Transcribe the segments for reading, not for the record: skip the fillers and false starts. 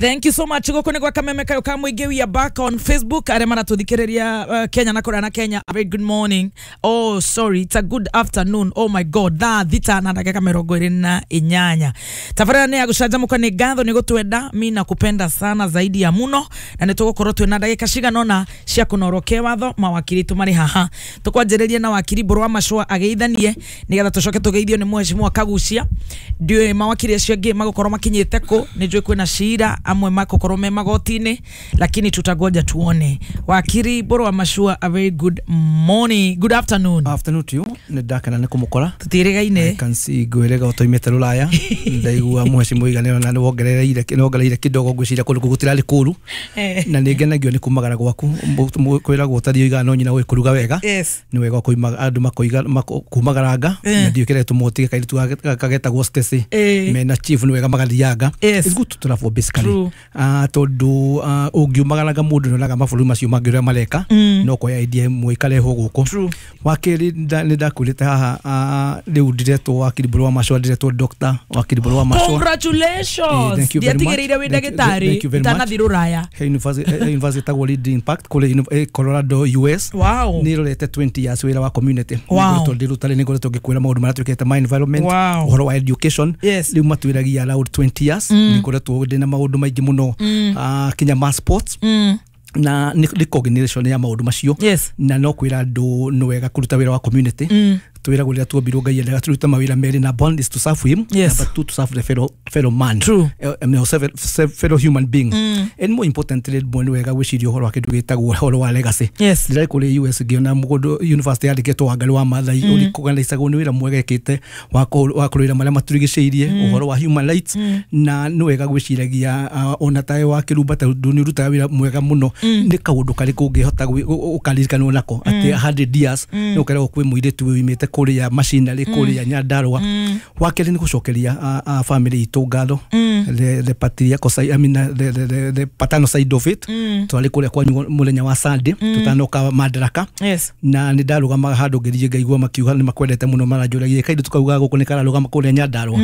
Thank you so much. Gũkũ nĩ gwa Kameme Kayo ka Mũingĩ. We are back on Facebook. Arĩa maratũthikĩrĩria Kenya na kũrĩa na Kenya, a very good morning. Oh, sorry, it's a good afternoon. Oh my God, thaa 6 na ndagĩka 28. Tabarĩra nĩ ya gũcanjamũka. Nĩ ngatho nĩ gũtwenda. Mi nakupenda sana zaidi ya muno, na nĩ tũgũkorwo twĩna ndagĩka cigana ũna cia kũnorwo kewatho. Mawakiri tũmarĩ haha, tũkwanjĩrĩria na wakiri Mbũrũ wa Macũa ageithanie, nĩgetha tũcoke tũgeithio nĩ mheshimiwa Kagucia. Ndiũĩ mawakiri acio angĩ magũkorwo makinyĩte kũ. Nĩ njũĩ kwĩna cira, amwe makũkorwo me magoti-inĩ, lakini tutagoja tuone. Wakiri Mbũrũ wa Macũa, a very good morning, good afternoon. Afternoon to you. Nĩ ndakena nĩ kũmũkora. Tũtiĩrĩgaine. I can see ngwĩrĩga ũtoimĩte rũraya. Ndaigua mheshimiwa Iganĩro na nĩ wongereire kidogo. Ngwĩciria kũndũ kũu gũtirarĩ kũru. Na nĩ ngenagio nĩ kumagara gwaku. Kwĩragwo ũtariĩ ũigana no nyina ũĩ kũruga wega. Nĩ wega kũimaga andũ makoiga kumagaranga. Na ndiũĩ kĩrĩa gĩtũmaga ũtige kairĩtu kagetagwo Stacy mena chief, nĩ wega magathianga. It's good to travel basically. Tondũ ũngiumagaranga mũndũ nĩonaga mabũrũri macio mangĩ ũrĩa mareka, no koya idea ĩmwe ikarehwo gũkũ. Wa kerĩ, nĩ ndakwĩrĩte haha, rĩu ndiretwo wakiri Mbũrũ wa Macũa, ndiretwo Dr. wakiri Mbũrũ wa Macũa. Congratulations. Thank you very much. Ndiatigĩrĩire wĩ Thank ndagĩtarĩ you very much. itanathi rũraya. He university ĩtagwo Lead Impact kũrĩa Colorado, US. Nĩ rorete 20 years wĩra wa community. Nĩ ngoretwo ndĩrutarĩ, nĩ ngoretwo ngĩkwĩra maũndũ marĩa twĩkĩte ma environment, ũhoro wa education. Rĩu matwĩragia around 20 years nĩ ngoretwo ndĩna maũndũ maingĩ mũno, kinya ma sports, na nĩ coordination ya maũndũ macio. Na no kwĩra andũ nĩ wega kũruta wĩra wa community. Twĩragwo rĩrĩa tuombirwo Ngai endaga tũrute mawĩra merĩ. Number one is to serve him. Number two, to serve the fellow man. I mean, fellow human being. And more importantly, rĩmwe nĩ wega gwĩciria ũhoro wa kĩndũ gĩtagwo ũhoro wa legacy. Ndĩrarĩ kũrĩa US ngĩona mũgũndũ university yandĩkĩtwo Wangarĩ wa Maathai, ũrĩkũganaicagwo nĩ wĩra mwega ĩkĩte wa kũrũĩra marĩa matũrigicĩirie, ũhoro wa human rights. Na nĩ wega gwĩciragia, ona tawe wa kĩrumba, tondũ nĩ ũrutaga wĩra mwega mũno, nĩ kaũndũ karĩkũ ũngĩhota ũkaririkanwo nako atĩ 100 years nĩ ũkeragwo kwĩ mũirĩtu wĩimĩte kũrĩa macinarĩ kũrĩa Nyandarũa. Wa kerĩ nĩ gũcokeria family itũ ngatho, the patriarchal side, I mean, the paternal side of it. Twarĩ kũrĩa kwanyu mũthenya wa Sunday tũtanoka Madaraka. Na nĩ ndarũgamaga handũ ngĩthiĩ ngaigua makiuga nĩ makwendete mũno, maranjũragia kaindũ tukauga gũkũ nĩ kararũgama kũrĩa Nyandarũa.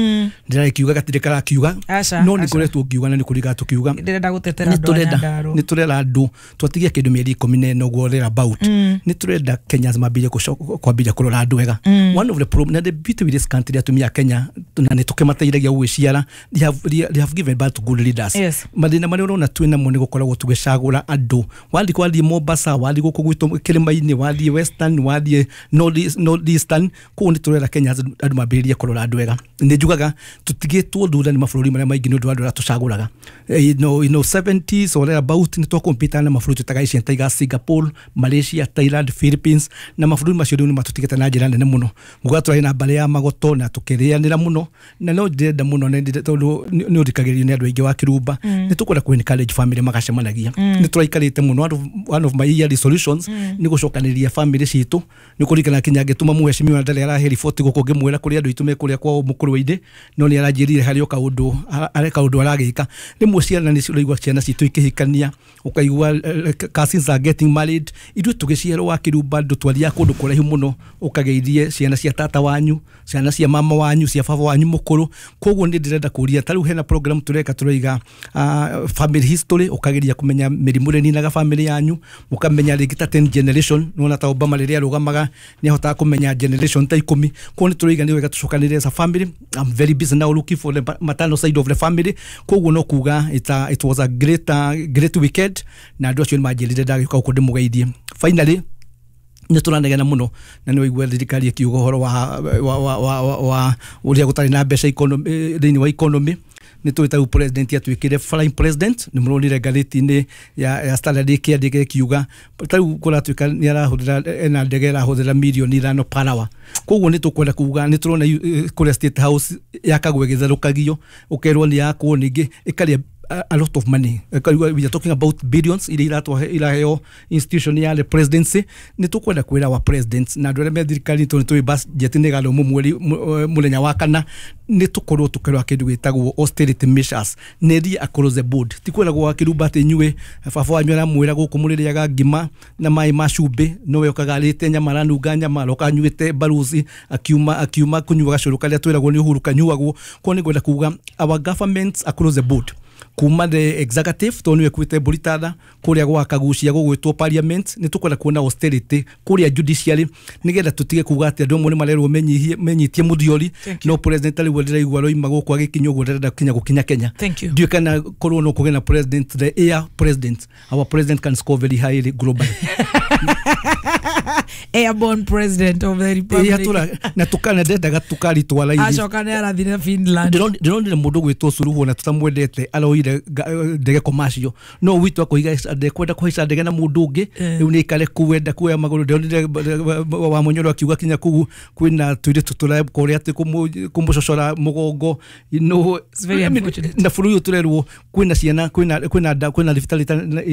Ndĩragĩkiuga gatirĩ karakiuga. Aca, no nĩ aca. ngoretwo ngiuga na nĩ kũriga tũkiuga. Ndĩrenda gũtetera nĩ andũ a tũrenda Nyandarũa. Nĩ tũrera andũ twatigia kĩndũ mĩeri 14 ũguo thereabout. Nĩ tũrenda Kenyans mambĩrĩrie kwambĩrĩria kũrora andũ wega. One of the problem na the beauty with this country, atumia a Kenya, na nĩ tũkĩmateithagia gũgĩciara, they have given birth to good leaders. Mathĩna marĩa ũrona twĩ namo nĩ gũkoragwo tũgĩcagũra andũ. Wathiĩ Mombasa, wathiĩ gũkũ gwitũ kĩrĩma-inĩ, wathiĩ Western, wathiĩ North Eastern, kũu nĩ tũrera Kenya andũ mambĩrĩrie kũrora andũ wega. Nĩ njugaga tũtigĩtwo thutha nĩ mabũrũri marĩa maingĩ nĩ ũndũ wa andũ arĩa tũcagũraga. 70s or thereabout nĩ twakompita na mabũrũri tũtaga Asian Tigers, Singapore, Malaysia, Thailand, Philippines, na mabũrũri macio rĩu nĩ matũtigĩte na njĩra nene mũno. Nguga tũrarĩ na mbarĩ ya magoto na tũkĩrĩanĩra mũno, na no ndĩrenda mũno na tondũ nĩ ũthikagĩrĩrio nĩ andũ aingĩ wa kĩrumba, nĩ tũkwenda kũ encourage family magacemanagia. Nĩ tũraikarĩte mũno. One of my yearly solutions nĩ gũcokanĩrĩria family citũ. Nĩ kũririkana kinya ngĩtũma mheshimiwa ndarĩ arahe riboti gũkũ ngĩmwĩra kũrĩ andũ aitũ me kũrĩa kwao mũkũrwe-inĩ, no nĩ aranjĩrire harĩ o kaũndũ harĩ kaũndũ aragĩka. Rĩmwe ciana nĩ ũraigua ciana citũ ikĩhikania, ũkaigua cousins are getting married. Ithuĩ tũgĩciarwo wa kĩrumba, andũ twathiaga kũndũ kũraihu mũno ũkageithie ciana cia tata wanyu, ciana cia mama wanyu, cia baba wanyu mũkũrũ. Koguo nĩ ndĩrenda kũria, ta rĩu hena program tũreka tũraiga family history, ũkageria kũmenya mĩrimũ ĩrĩa ĩninaga family yanyu, ũkamenya rĩngĩ ta 10 generation. Nĩwona ta Obama rĩrĩa arũgamaga nĩ ahotaga kũmenya generation ta 10. Koguo nĩ tũraiga nĩ wega tũcokanĩrĩre as a family. I'm very busy now looking for the maternal side of the family. Koguo no kuga it was a great weekend, na andũ acio nĩ manjĩrire ndagĩũka gũkũ ndĩmũgeithie. Finally, nä tå ranegena må no na nä waigua thirikari ĩkiuga ũhoro wa ũrĩa gũtarĩ na mbeca thĩinĩ wa economy. Nĩ tũĩ ta rĩu president atuĩkire flying president, nĩ mũronire ngathĩti-inĩ ya Standard ĩkĩandĩka ĩkiuga ta rĩu kũratuĩka nĩ arahũthĩra ena ndege ĩrahũthĩra mirioni 5 per hour. Koguo nĩ tũkwenda kuga nĩ tũrona kũrĩa State House yakagwo ĩgĩtherũkagio, ũkerwo nĩ yakwo ningĩ ĩkarĩa a lot of money. We are talking about billions iria iratwahe iraheo institution ya the presidency. Nĩ tũkwenda kwĩra wa president na andũ arĩa me thirikari, tondũ nĩ tũĩ budget nĩ ĩgathomwo mweri mũthenya wa kana, nĩ tũkorwo tũkĩrora kĩndũ gĩtagwo austerity measures nĩ thiĩ across the board. Ti kwĩragwo wa kĩrumba atĩ inyuĩ baba wanyu aramwĩra gũkũ mũrĩrĩaga ngima na maĩ ma cumbĩ, nowe okaga arĩte nyama, aranunga nyama, aroka anyuĩte baruci, akiuma kũnyua gacũrũ karĩa twĩragwo nĩ Uhuru kanyuagwo. Koguo nĩ ngwenda kuga our governments across the board. Kuma the executive to niwe kwite mburitana kuria gwa kagucia gugwitwo parliament ni tukwenda kuona austerity kuria judiciary nigetha tutige kuga ati andu amwe ni marerwo menyihie menyitie muthiori no president ari ndiraigua roima guku agikinya uguo ndirenda kinya gukinya Kenya. Ndiũ kana korwo no kũgĩa na president, the air president, our president can score very highly globally. Airborne president of the republic. Na tukana ndendaga tukaritwara ithi acoka nĩ arathire Finland. Ndironire mũndũ gwĩtwo Suluhu na tutamwendete aroire ndege commercial no witũ akoiga ndekwenda kũhaica ndege na mũndũ ũngĩ rĩu nĩ ikare kũu enda kuoya magũrũ. Ndironire wa Munyoro akiuga kinya kũu kwĩna tũirĩtu tũrekũrĩa atĩ kũmũcocora mũgongo no na bũrũri ũyũ tũrerwo kwĩna ciana kwĩna kwĩna thibitarĩ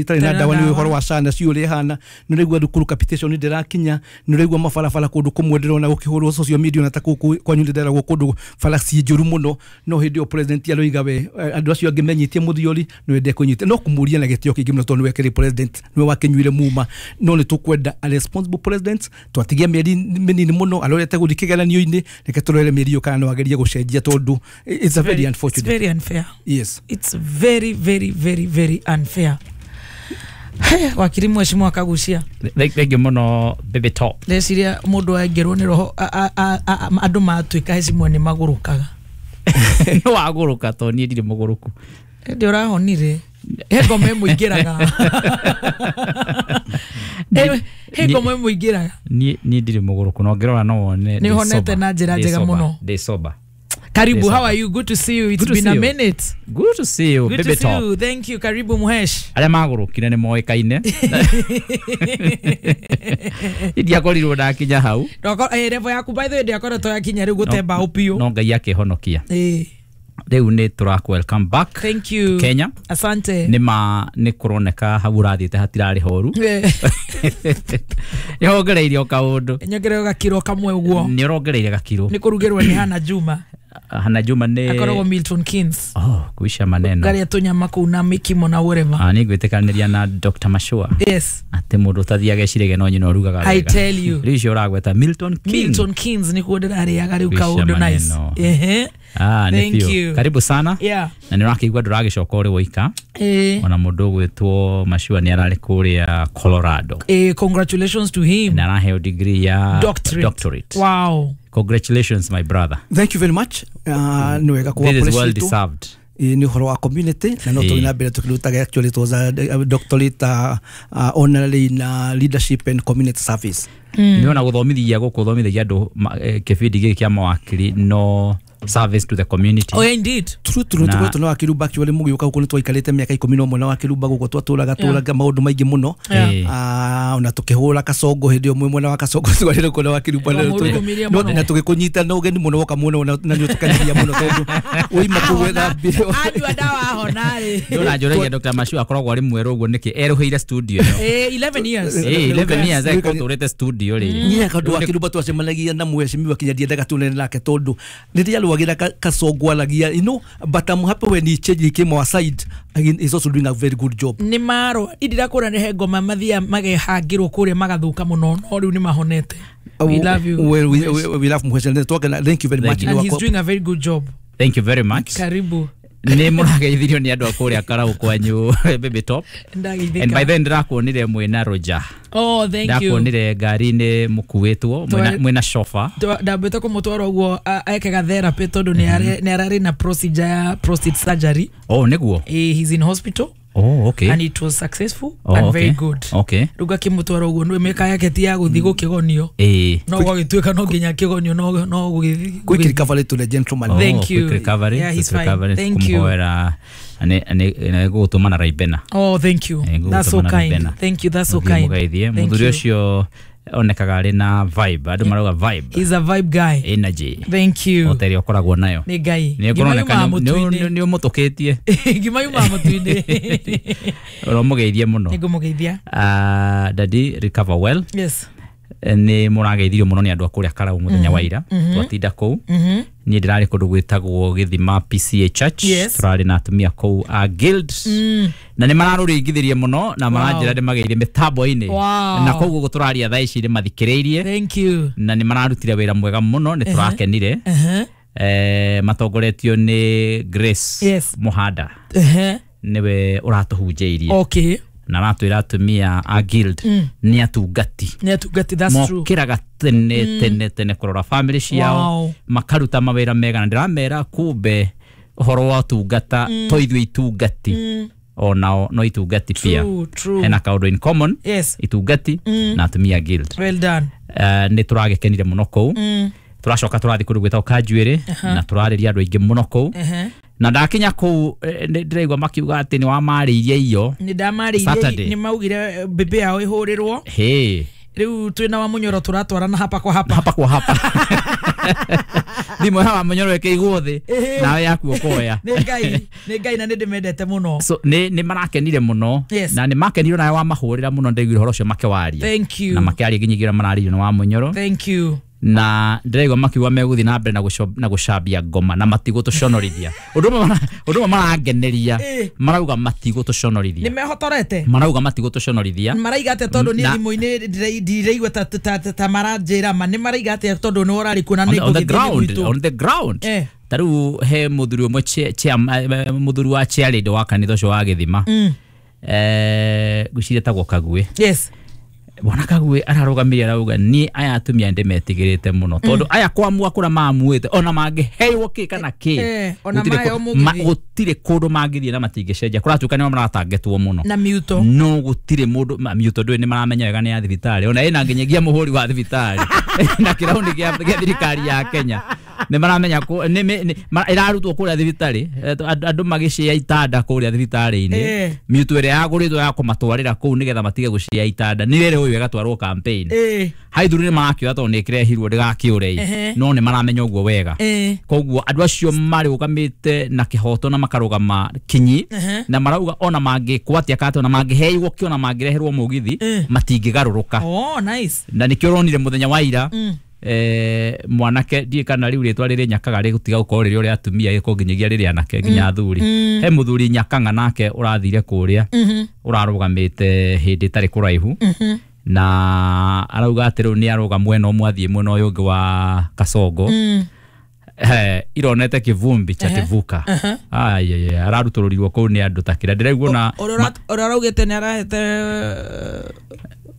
itarĩ na ndawa nĩ ũhoro wa SHA na ciũrĩa ĩhana. Nĩ ũraigua thukuru capitation ndĩrakinya, nĩ ũraigua mabarabara kũndũ kũmwe ndĩrona gũkĩhũrwo social media na ta kũu kwanyu ndĩreragwo kũndũ bara ciĩ njũru mũno no hĩndĩ ĩyo president aroiga we andũ acio angĩ menyitie mũthiori nĩ wende kũnyita no kũmũria na gĩtĩo kĩingĩ mũno tondũ nĩwe kĩrĩ president nĩwe wakĩnyuire muma no nĩ tũkwenda a responsible president twatigia mĩeri mĩnini mũno arorete gũthiĩ kĩgeranio-inĩ reke tũrore mĩeri ĩyo kana no agerie gũcenjia tondũ it's a very unfortunate. It's very unfair. Yes. It's very very very very unfair. Wakiri mheshimiwa Kagucia. Thank you muno baby top. Ndeciria mundu aingirwo ni roho andu matuika hecimwe ni magurukaga. No waguruka to nie ndire muguruku. Ndi urahonire. He ngoma ĩmũingĩraga. He ngoma ĩmũingĩraga. Nie ndire muguruku no ngirora no wone. Ni honete na njira njega muno. Ndi sober. Karibu, how are you? Good to see you. It's good been a minute. Good to see you. Good baby to see top. You. Thank you. Karibu Muhesh. Arĩa magũrũkire nĩ moĩkaine. Ndiakorirwo ndakinya hau. Level yaku by the way ndiakoretwo yakinya rĩu gũtemba ũpiũ. No Ngai akĩhonokia. Rĩu nĩ tũraku welcome back. Thank you. Kenya. Asante. Nĩ ma nĩ kũroneka hau ũrathiĩte hatirarĩ horu. Nĩ wongereire o kaũndũ. Nyongereire gakiro kamwe ũguo. Nĩ ũrongereire gakiro. Nĩ kũrugĩrwo nĩ Hannah Juma. Hannah Juma nĩ akoragwo Milton Keynes. Oh, kuisha maneno. Ngaria tũnyama kũu na mĩkimo na whatever. Ah, nĩ ngwĩtĩkanĩria na Dr. Mashua. Yes. Atĩ mũndũ ũtathiaga ecirĩge no nyina ũrugaga wega. I tell you. Rĩu icio ũragweta Milton Keynes. Milton Keynes nĩkuo ndĩrarĩaga rĩu kaũndũ nice. Ehe. Ah, thank you. Karibu sana. Yeah. Na nĩ ũrakĩigua ndũragĩcoka ũrĩ woika. Ona mũndũ ũgwĩtwo Mashua nĩ ararĩ kũrĩa Colorado. Congratulations to him. Na araheo degree ya doctorate. Wow. Congratulations my brother. Thank you very much. Nĩ wega This is well deserved. Nĩ ũhoro wa community na no tũgĩ na mbere tũkĩrutaga actually it was a doctorate honorary in leadership and community service. Nĩ ona gũthomithia gũkũ gũthomithagia andũ kĩbindi gĩkĩ kĩa mawakiri no service to the community. Oh, indeed. True tukoretwo na Wakiruba actually mũgĩũka gũkũ nĩ twaikarĩte mĩaka 11 na Wakiruba gũkũ twatũraga tũraga maũndũ maingĩ mũno. Ona tũkĩhũra Kasongo hĩndĩ ĩyo mwena wa Kasongo twarĩ kũu na Wakiruba na tũgĩkũnyita na ũgeni mũno woka mũno na nĩ ũtũkenirie mũno tondũ woima kũu wethambire. Anyua ndawa ahona rĩ. Ndona njũragia Dr. Mashua akoragwo arĩ mwerũ ũguo nĩkĩ erũhĩire studio ĩno. 11 years. 11 years ekũtũrĩte studio rĩ. Niĩ kaũndũ Wakiruba twacemanagia na mheshimiwa kinya ndiendaga tũnene nake tondũ rĩrĩa agira Kasongo alagia, you know, but I'm happy when he changed, he came our side. Again, he's also doing a very good job. Nĩ maro indira kũra nĩ he ngoma mathia magehangĩrwo kũrĩa magathuka mũno no rĩu nĩ mahonete. We love you. Well, we love Muhesh. Thank you very much. And he's doing a very good job. Thank you very much. Karibu. Nĩ mũrageithirio nĩ andũ a kũrĩa Karau kwanyu baby top. And by then ndĩrakuonire mwĩna Roger. Oh, thank you. Ndakuonire ngari-inĩ mũkuĩtwo mwĩna chauffeur. Ndambĩte kũmũtwara ũguo ekega therapy tondũ nĩ ararĩ na procedure ya prostate surgery. Oh, nĩguo. He's in hospital. Oh, okay. And it was successful and very good. Okay. Rĩu ngakĩmũtwara ũguo nĩ mĩka yake ti ya gũthiĩ gũkĩgonio. No gwagĩtuĩka no nginya kĩgonio no gũgĩthiĩ. Quick recovery to the gentleman. Thank you. Quick recovery. Yeah, he's fine. Thank you. Nĩ gũgũtũma na Raibena. Oh, thank you. That's so kind. Thank you. That's so kind. Mũthuri ũcio onekaga arĩ na vibe. Andũ marauga vibe. He's a vibe guy. Energy. Thank you. O ta ĩrĩa ũkoragwo nayo. Nĩ Ngai. Nĩ kũroneka nĩ ũmũtũkĩtie. Ngima yumaga mũtu-inĩ. Ũromũgeithie mũno. Nĩ ngũmũgeithia. Daddy, recover well. Yes. Nĩ mũrageithirio mũno nĩ andũ a kũrĩa Karau mũthenya wa ira. Twatinda kũu. Niĩ ndĩrarĩ kũndũ gwĩtagwo Gĩthima PCA Church. Tũrarĩ na atumia kũu a guild. Na nĩ mararũringithirie mũno na maranjĩra nĩ mageire mĩtambo-inĩ. Na koguo ũguo tũraria thaa ici nĩ mathikĩrĩirie. Thank you. Na nĩ mararutire wĩra mwega mũno, nĩ tũrakenire. Matongoretio nĩ Grace Yes. Muhanda. Nĩwe ũratũhunjĩirie. Okay. Na aratwĩra atumia a guild nĩ atungati. Nĩ atungati, that's true. Mokĩraga tene tene tene kũrora family ciao. Wow. Makaruta mawĩra mega na ndĩramera kumbe ũhoro wa ũtungata to ithuĩ itungati onao no itungati pia. True, true. Hena kaũndũ in common. Yes. Itungati na atumia guild. Well done. Nĩ tũragĩkenire mũno kũu. Tũracoka tũrathiĩ kũndũ gwĩtagwo Kanjuĩrĩ na tũrarĩria andũ aingĩ mũno kũu. Na ndakinya kũu nĩ ndĩraigua makiuga atĩ nĩ wamarĩirie irio. Nĩ ndamarĩirie Saturday. nĩ maugire mbĩmbĩ yao ĩhũrĩrwo. Hĩ. Rĩu twĩna wa Mũnyoro tũratwarana hapa kwa hapa. Hapa kwa hapa. Thimũ ya wa Mũnyoro ĩkĩigwo thĩ nawe yaku ũkoya. Nĩ Ngai, nĩ Ngai na nĩ ndĩmendete mũno. So nĩ marakenire mũno. Yes. Na nĩ makenire nawe wamahũrĩra mũno ndaiguire ũhoro ũcio makĩwaria. Thank you. Na makĩaria nginyagia ũrĩa mararĩirio nĩ wa Mũnyoro. Thank you. Na ndĩraigua makiuga megũthiĩ na mbere na gũcambia ngoma na matigũtũconorithia. Ũndũ ũmwe marangeneria marauga matigũtũconorithia. Nĩ mehotorete? Marauga matigũtũconorithia. Maraiga atĩa tondũ niĩ thimũ-inĩ ndiraigua ta maranjĩra ma nĩ maraiga atĩa tondũ nĩ ũrarĩ kuo na nĩ on the ngũgĩthiĩ ground, gwitũ. on the ground. Ta rĩu he mũthuri ũmwe mũthuri wa chairlady wa kanitha ũcio wa Gĩthima. Ngwĩciria etagwo Kagwe. Yes. Bwana Kagwe ararũgamire arauga niĩ aya atumia ndĩmetigĩrĩte mũno tondũ aya kwamua kũrĩa mamuĩte ona mangĩheirwo kĩ kana kĩ ona maheo mũgithi. Gũtirĩ kũndũ mangĩthiĩ na matingĩcenjia. Kũratuĩka nĩo maratangetwo mũno na miuto. No gũtirĩ mũndũ miuto ndũĩ nĩ maramenya wega nĩ ya thibitarĩ ona ĩna nginyagia mũhũri wa thibitarĩ na kĩraũni gĩa thirikari ya Kenya nĩ maramenya ĩrarutwo kũrĩa thibitarĩ andũ magĩcĩa itanda kũrĩa thibitarĩ-inĩ miuto ĩrĩa yagũrĩtwo ya kũmatwarĩra kũu nĩgetha matige gũcĩa itanda nĩ rĩrĩ ũyũ ĩgatwarwo campaign. Haithuru nĩ marakĩoya tondũ nĩ ĩkĩrehirwo ndĩgakĩũre no nĩ maramenya ũguo wega. Koguo andũ acio marũgamĩte na kĩhoto na makarũgama kinyi na marauga ona mangĩkwatia kata ona mangĩheirwo kĩ ona mangĩreherwo mũgithi matingĩgarũrũka. Oh, nice. Na nĩkĩo ũronire mũthenya wa ira mwanake ndiĩ kana rĩu rĩtwa rĩrĩ Nyakaga rĩgũtiga gũkorwo rĩrĩ ũrĩa atumia gĩkorwo nginyagia rĩrĩ anake nginya athuri. He mũthuri Nyakang'a nake ũrathire kũrĩa ũrarũgamĩte hĩndĩ ĩtarĩ kũraihu na arauga atĩ rĩu nĩ arũga mwena ũmwe athiĩ mwena ũyũ ũngĩ wa Kasongo. Ironete kivumbi cha tivuka. Ai ararutũrũrirwo kũu nĩ andũ ta kĩrĩa ndĩraigua na ũrĩa ũraugĩte nĩ arahete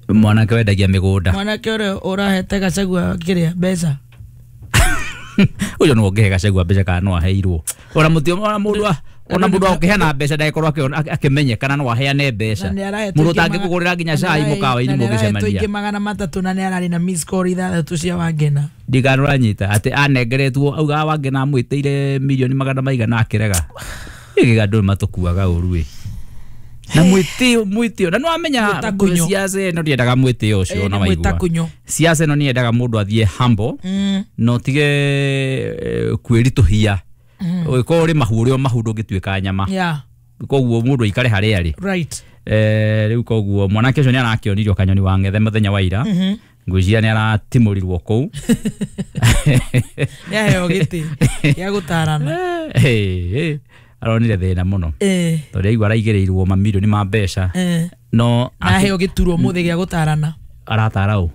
mwanake wendagia mĩgũnda. Mwanake ũrĩa ũrahete Gachagua kĩrĩa mbeca. Ũcio no ũngĩhe Gachagua mbeca kana no aheirwo. Ona mũtio ona mũndũ ona mũndũ akĩheana mbeca ndagĩkorwo akĩmenye kana no aheane mbeca. Mũndũ ũtangĩkũgũrĩra nginya cai mũkawa-inĩ mũgĩcemania. Aingĩ 300 na nĩ ararĩ na miss call 6 cia Wangena. Ndigana ũranyita atĩ anengeretwo auga Wangena amwĩtĩire mirioni magana maigana akĩrega. Gĩkĩ andũ matũkuaga ũru ĩ. Na mwĩtĩo na nĩwamenya siasa ĩno ndĩendaga mwĩtĩo ũcio ona waigua. Siasa ĩno nĩyendaga mũndũ athiĩ humble na ũtige kwĩritũhia. Ũgĩkorwo ũrĩ mahu ũrĩ o mahu ndũngĩtuĩka nyama. Koguo mũndũ aikare harĩa arĩ. Right. Rĩu koguo mwanake ũcio nĩ arakĩonirio kanyoni wa ng'ethe mũthenya wa ira. Ngwĩciria nĩ aratimũrirwo kũu. Nĩ aheo gĩtĩ gĩa gũtarana. Aronire thĩna mũno tondũ aigua araigĩrĩirwo mamirioni ma mbeca no aheo gĩturwa mũthĩ gĩa gũtarana. Aratara ũ?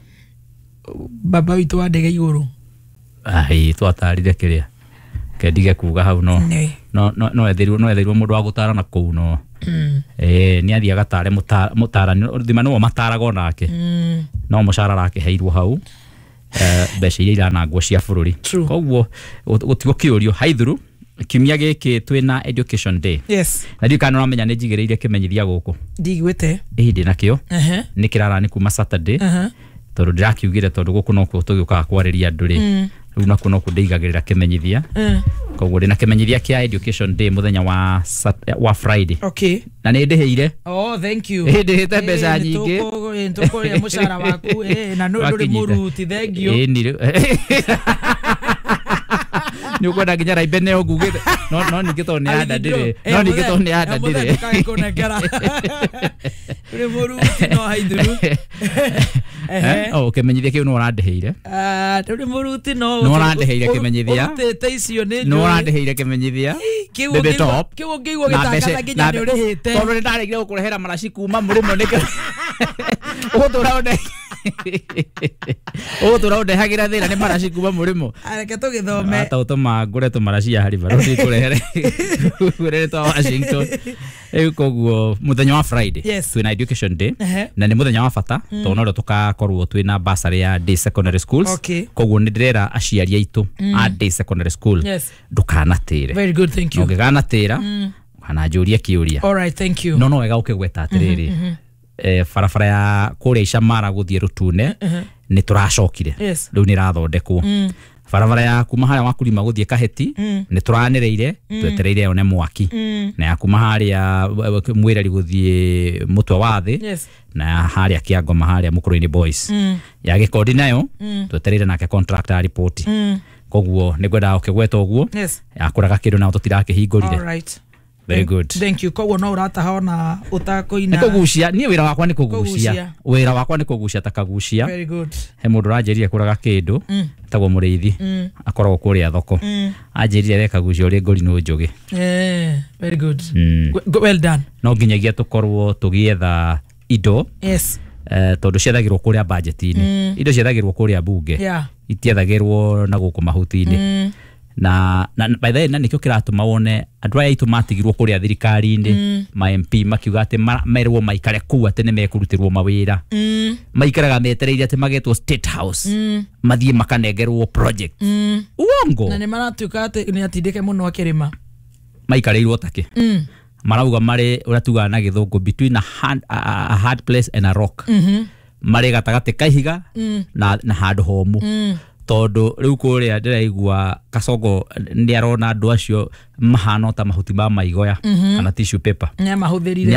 Baba witũ wa ndege igũrũ. Ai twatarire kĩrĩa kendige kuga hau no no ethirwo mũndũ wa gũtarana kũu no nĩ athiĩ agatare mũtarani thima nĩwe mataraga onake no mũcara arakĩheirwo hau mbeca iria iranangwo cia bũrũri. Koguo gũtigũkĩũrio haithuru kiumia gĩkĩ twĩna education day. Yes. Na ndiũ kana ũramenya nĩ njigĩrĩire kĩmenyithia gũkũ. Ndigwĩte. Ĩĩ ndĩ nakĩo. Nĩ kĩrarani kuma Saturday. Tondũ ndĩrakiugire tondũ gũkũ nokuo tũgĩũkaga kwarĩria andũ rĩ. Rĩu nakuo nokuo ndĩigagĩrĩra kĩmenyithia. Koguo ndĩna kĩmenyithia kĩa education day mũthenya wa Friday. Okay. Na nĩ ndĩhĩire. Oh, thank you. Ĩĩ ndĩhĩte mbeca nyingĩ. Tũkũrĩa mũcara waku na ndũrĩ mũruti, thank you. Ĩĩ nĩ nĩ ũkwenda nginya raimbe nĩyo ngugĩte no ningĩ tondũ nĩ anda ndĩrĩ no ningĩ tondũ nĩ anda ndĩrĩ ndũrĩ mũruti no haithuru. Oh, kĩmenyithia kĩu no ũrandĩhĩire. Ndũrĩ mũruti no no ũrandĩhĩire kĩmenyithia. Ũrutĩte icio nĩ njũĩ. No ũrandĩhĩire kĩmenyithia. Kĩu ũngĩigua gĩtangatha nginya nĩ ũrĩhĩte. Tondũ nĩ ndaregire gũkũrehera maraci kuma mũrĩmo nĩkĩo ũgũtũra ũnde. Ũgũtũra ũndehagira thĩna nĩ maraci kuma mũrĩmo. Reke tũgĩthome. Ata ũtũma ngũre tũmaraci ya haribaro kũrehere ngũrehere twa Washington. Rĩu koguo mũthenya wa Friday twĩna education day na nĩ mũthenya wa bata tondũ no rĩo tũgakorwo twĩna bursary ya day secondary schools. Koguo nĩ ndĩrera aciari aitũ a day secondary school ndũkanatĩre. Very good, thank you. Ũngĩganatĩra ũkananjũria kĩũria. All right, thank you. No wega ũkĩgweta atĩrĩrĩ, barabara ya kũrĩa Icamara gũthiĩ Rũtune nĩ tũracokire, rĩu nĩ ĩrathondekwo. Barabara ya kuma harĩa Wakulima gũthiĩ Kaheti nĩ tũranĩrĩire, twetereire yone mwaki. Na ya kuma harĩa Mwĩreri gũthiĩ Mũtwe wa Thĩ, na ya harĩa Kĩangoma harĩa Mũkũrũ-inĩ Boys. Ya Gĩkondi nayo twetereire nake contractor ripoti. Koguo nĩ ngwendaga ũkĩgweta ũguo. Yakũraga kĩndũ nao tũtirakĩhingũrire. All right. Very good. Thank you. Koguo no ũrataha ona ũtakũina. Nĩ kũgucia, niĩ wĩra wakwa nĩ kũgucia. Wĩra wakwa nĩ kũgucia ta kagucia. Very good. He mũndũ ũranjĩrire kũraga kĩndũ etagwo Mũrĩithi, akoragwo kũrĩa thoko. Anjĩrire we kagucia ũrĩ ngũrinũ njũgĩ. Very good. Well done. No nginyagia tũkorwo tũgĩetha indo. Yes. Tondũ ciethagĩrwo kũrĩa budget-inĩ. Indo ciethagĩrwo kũrĩa bunge. Itiethagĩrwo na gũkũ mahuti-inĩ. Na by the way, na nikio kiratuma wone andũ aya aitũ matigirwo kũrĩa thirikari-inĩ, ma MP makiuga atĩ merwo maikare kũu atĩ nĩ mekũrutĩrwo mawĩra. Maikaraga metereire atĩ magetwo State House, mathiĩ makanengerwo project. Uongo. Na nĩ maratuĩka atĩ nĩ atindĩke mũno akĩrĩma. Maikarĩirwo takĩ. Marauga marĩ ũrĩa tugaga na gĩthũngũ between a hard place and a rock. Marĩ gatagatĩ ka ihiga na handũ homũ. Tondũ rĩu kũrĩa ndĩraigua Kasongo nĩ arona andũ acio mahana ta mahuti ma maigoya kana tissue paper. Nĩ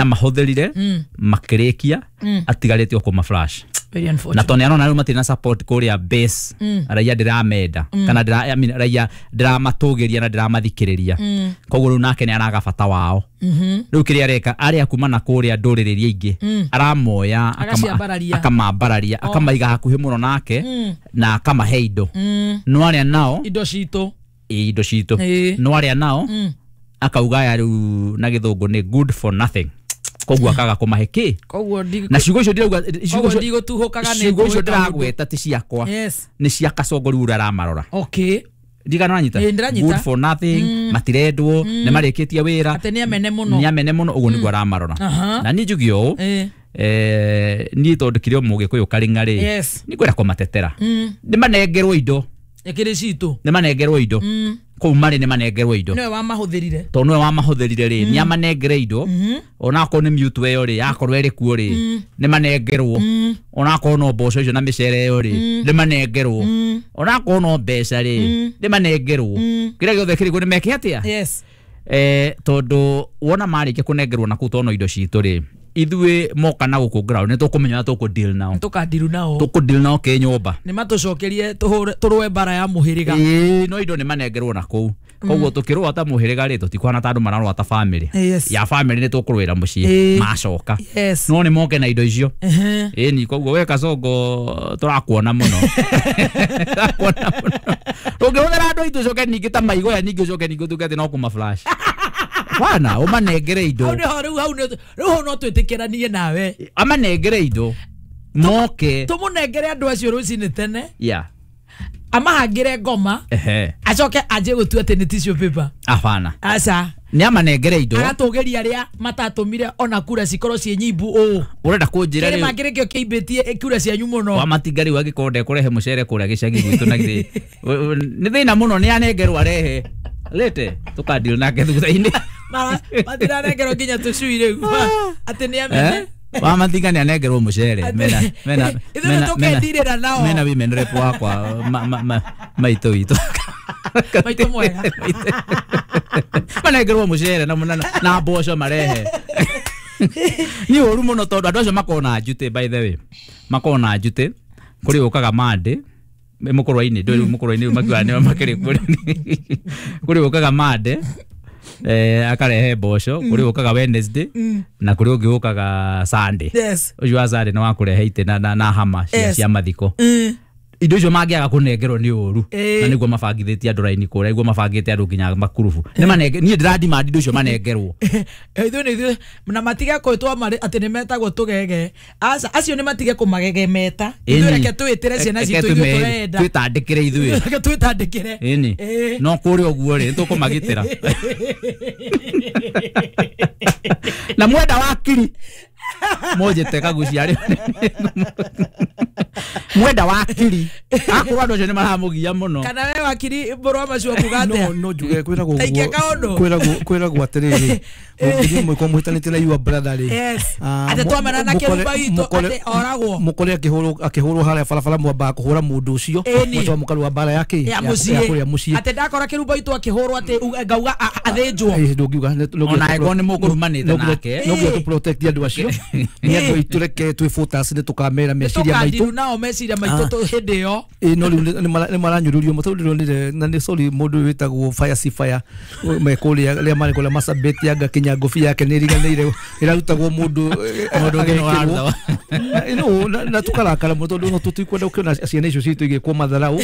amahũthĩrire makĩrĩkia, atigarĩte o kũma flash. Very unfortunate. Na tondũ nĩ arona rĩu matirĩ na support kũrĩa base, raia ndĩramenda kana raia ndĩramatũgĩria na ndĩramathikĩrĩria. Koguo rĩu nake nĩ araga bata wao. Rĩu kĩrĩa areka arĩa kuma na kũrĩa ndũrĩrĩ iria ingĩ aramoya, akamambararia, akamaiga hakuhĩ mũno nake na akamahe indo. No arĩa nao indo citũ, indo citũ, no arĩa nao akauga ya rĩu na gĩthũngũ nĩ good for nothing. Koguo akaga kũmahe kĩ. Koguo na ciugo icio ndĩrauga, ndigũtuhũkaga nĩ ciugo icio ndĩragweta ti ciakwa, nĩ cia Kasongo rĩu ũrĩa aramarora. Okay. Ndigana wanyita. Good for nothing, matirendwo, nĩ marĩkĩtie wĩra. Atĩ nĩ amene mũno. Nĩ amene mũno, ũguo nĩguo aramarora. Na niĩ njuge ũũ, niĩ tondũ kĩrĩ o Mũgĩkũyũ karĩng'a rĩ, nĩ ngwenda kũmatetera. Nĩ manengerwo indo. Ĩkĩrĩ citũ. Nĩ manengerwo indo. Kũu marĩ nĩ manengerwo indo. Nĩwe wamahũthĩrire. Tondũ nĩwe wamahũthĩrire rĩ, nĩ amanengere indo. Onakorwo nĩ mute ĩyo rĩ, yakorwo ĩrĩ kuo rĩ, nĩ manengerwo. Onakorwo no mboco icio na mĩcere ĩyo rĩ, nĩ manengerwo. Onakorwo no mbeca rĩ, nĩ manengerwo. Kĩrĩa gĩothe kĩrĩ kuo nĩ meke atĩa? Yes. Tondũ wona marĩkia kũnengerwo na kũu tondũ indo citũ rĩ, ithuĩ moka na gũkũ ground nĩ tũkũmenya ũrĩa tũkũ deal nao. Tũkandiru nao. Tũkũ deal nao kĩnyũmba. Nĩ matũcokerie tũrũe mbara ya mũhĩrĩga. Ĩĩ, no indo nĩ manengerwo na kũu. Koguo tũkĩrũa ta mũhĩrĩga rĩ, tũtikuhana ta andũ mararũa ta family. Ya family nĩ tũkũrũĩra mũciĩ macoka. No nĩ moke na indo icio. Ĩni koguo we Kasongo tũrakuona mũno. Tũrakuona mũno. Ũngĩhũthĩra andũ aitũ ũcoke ningĩ ta maigoya ningĩ ũcoke ningĩ ũtuĩke atĩ no kũma flash. Bwana, ũmanengere indo. Hau nĩho rĩu hau rĩu no twĩtĩkĩranie nawe. Amanengere indo. Moke. Tũmũnengere andũ acio rũcinĩ tene. Yeah. Amahangĩre ngoma. Acoke anjie gũtua atĩ nĩ tissue paper. Abana. Aca. Nĩ amanengere indo. Agatũgĩria arĩa matatũmire ona kura cikorwo ciĩ nyimbu ũũ. Ũrenda kũnjĩra rĩu. Kĩrĩma kĩrĩkĩo kĩimbĩtie kura cianyu mũno. Wa matinga rĩu angĩkorwo ndekũrehe mũcere kũrĩa gĩcagi gwitũ na githĩ. Nĩ thĩna mũno nĩ anengerwo arehe. Lete tũkandeal nake thutha-inĩ. Matirarengerwo nginya tũcui rĩu. Atĩ nĩ amene. Wa matinga nĩ anengerwo mũcere. Mena ithuĩ tũkendirĩra nao. Mena women rep wakwa maitũ witũ. Maitũ mwega. Manengerwo mũcere na mboco marehe. Nĩ ũru mũno tondũ andũ acio makoragwo na njutĩ, by the way. Makoragwo na njutĩ. Kũrĩ ũkaga Monday mũkũrwa-inĩ, ndũĩ rĩu mũkũrwa-inĩ rĩu makiugaga nĩo makĩrĩ kũrĩ ũkaga Monday, akarehe mboco, kũrĩ ũkaga Wednesday, na kũrĩ ũngĩ ũkaga Sunday. Yes. Ũcio wa Sunday nĩ wa kũrehe itĩ na hama cia mathiko. Indo icio mangĩaga kũnengerwo nĩ ũru. Ĩĩ. Na nĩguo mabangithĩtie andũ raini kũrĩa, nĩguo mabangĩte andũ nginya makurubu. Nĩ manenge niĩ ndĩradimandi indo icio manengerwo. Ithuĩ nĩ ithuĩ na matige kwĩtwo marĩ atĩ nĩ metagwo tũgege. Aca, acio nĩ matige kũmagegemeta. Ithuĩ reke twĩtĩre ciana Reke citũ ithuĩ tũrenda. Twĩtandĩkĩre ithuĩ. Reke twĩtandĩkĩre. Ĩni. Ĩĩ. No kũrĩa ũguo rĩ, nĩtũkũmagitĩra. Na mwenda wakiri mũnjĩte kagucia rĩ. Mwenda wakiri akorwo andũ acio nĩ maramũgia mũno. Kana we wakiri mũrũ wa macio kuga atĩa? No njuge kwĩragwo Taikia ũguo- kaũndũ. kwĩragwo atĩrĩrĩ, mũngĩthiĩ mũgĩkorwo mũhĩtanĩtie na your brother rĩ, Yes. ah, Atĩ twamenana na kĩrumba gitũ, atĩ oragwo. Mũkore akĩhũrwo harĩa barabara, mwambaga kũhũra mũndũ ũcio, Ĩni. mũcoka mũkarũa mbara ya kĩ ya ya mũciĩ. kũrĩa mũciĩ. Atĩ ndakora kĩrumba gitũ akĩhũrwo atĩ ngauga athĩnjwo. Ĩĩ, ndũngiuga Ona angĩkorwo nĩ mũkũrumanĩte nake. No nginya tũ protect andũ acio. Nĩ andũ aitũ, reke twĩ focus, nĩ tũkamera meciria maitũ. Tũkandiru nao meciria maitũ hĩndĩ ĩyo. Ĩĩ, no rĩu nĩ maranyũrũrio mũno, tondũ ndĩronire na nĩ sorry, mũndũ ũyũ wĩtagwo Fire si Fire me kũrĩa rĩa marĩ kũrĩa Marsabit, anga kinya ngũbia yake nĩ ĩriganĩire ĩrarutagwo mũndũ Mũndũ ũngĩ nĩ agekĩrwo. ũraruta. Na tũkarakara mũno tondũ no tũtikwenda gũkĩona ciana icio citũ igĩkwo matharau.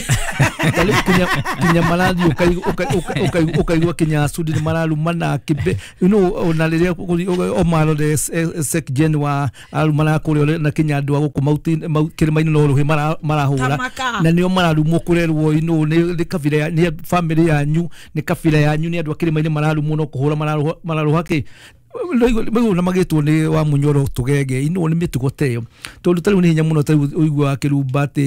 Ta rĩu kinya marathiĩ ũkaigua kinya Sudi nĩ mararumana kĩbe, ona rĩrĩa Omar the sec gen wa arumana kũrĩa, na kinya andũ a gũkũ kĩrĩma-inĩ no rũhĩ marahũra. Tamaka. Na nĩo mararumwo kũrerwo nĩ kabira nĩ family yanyu, nĩ kabira yanyu, nĩ andũ a kĩrĩma-inĩ mararumwo no kũhũra mararũha kĩ maigua na magĩtwo nĩ wa Munyoro tũgege. Nĩ mĩtugo ta ĩyo, tondũ ta rĩu nĩ hinya mũno ta rĩu ũiguaga kĩrumba atĩ